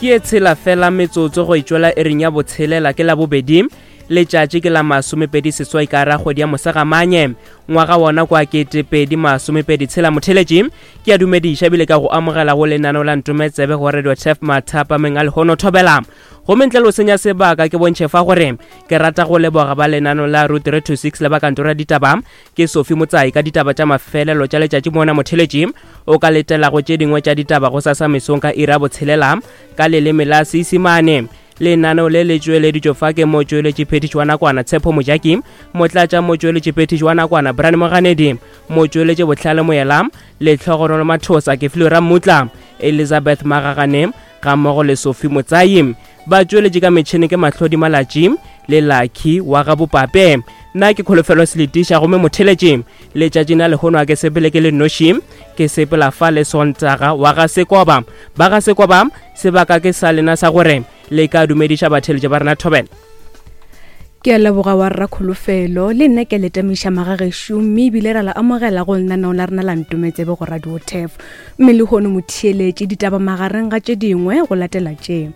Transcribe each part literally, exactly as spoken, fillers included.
Ke e tshela fela metsotso go itšwela ering ya botshelela ke Labobedi, letšatši ke la masomepedi seswai ka ra kgwedi ya Mosegamanye ngwaga wona kwa ketepedi masomepedi tshela. Motheletši, ke a dumediša ebile ka go amogela go lenaneo la Ntometsebe go Radio Tef mathapameng a lehono. Thobela. Gomme ntle le go senya sebaka, ke bontšhe fa gore ke rata go leboga ba lenaneo la Route three two six le ba kantoro ya ditaba ke Sophie Motsai ka ditaba tša mafelelo tša letšatši. Mona motheletši o ka letelago tše dingwe tša ditaba go sasa mesong ka ira botshelela ka leleme la Seisimane. Lenaneo le le tšweleditšwe fa ke motšweletši phetiši wa nakwana Tshepo Mojaki, motlatša motšweletši phetiši wa nakwana Brian Moganedi, motšweletši Botlhale Moela, Letlhogonolo Mathosa, ke Flora Mmutla, Elizabeth Magagane ga mmogo le Sophie Motsai. Ba tšweletše ka metšhene ke Mahlodi Malatši le Lucky wa ga Bopape. Nna ke Kholofelo Seletiša. Gomme motheletši, letšatši na lehono a ke sepele ke le noši, ke sepela fa le Sontaga wa ga Sekoba. Ba ga Sekoba, sebaka ke sa lena sa gore le ka dumediša batheletši ba rena. Thobela. Ke a leboga wa rra Kholofelo. Le nna ke letamiša magagešo, mme ebile ra la amogela go lenaneo la rena la Ntometsebe go Radio Tef. Mme lehono motheeletše, ditaba magareng ga tše dingwe go latela tše: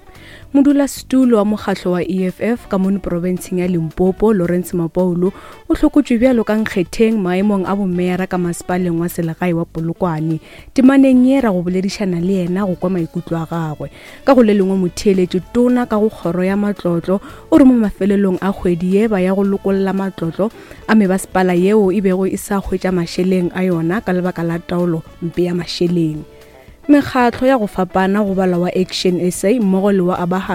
modulasetulo wa mokgatlo wa E F F ka mono porofenseng ya Limpopo, Lawrence Mapaulo, o hlokotšwe bjalo ka nkgetheng maemong a bomeyara ka masepaleng wa selegae wa Polokwane. Temaneng ye ra go boledišana le yena go kwa maikutlo a gagwe. Ka go le lengwe motheeletše, tona ka go kgoro ya matlotlo o re mo mafelelong a kgwedi ye ba ya go lokolla matlotlo a mebasepala yeo e bego e sa hwetša mašeleng a yona ka lebaka la taolo mpe ya mašeleng. Mekgatlo ya go fapana go bala wa Action S A mmogo le wa Abahambe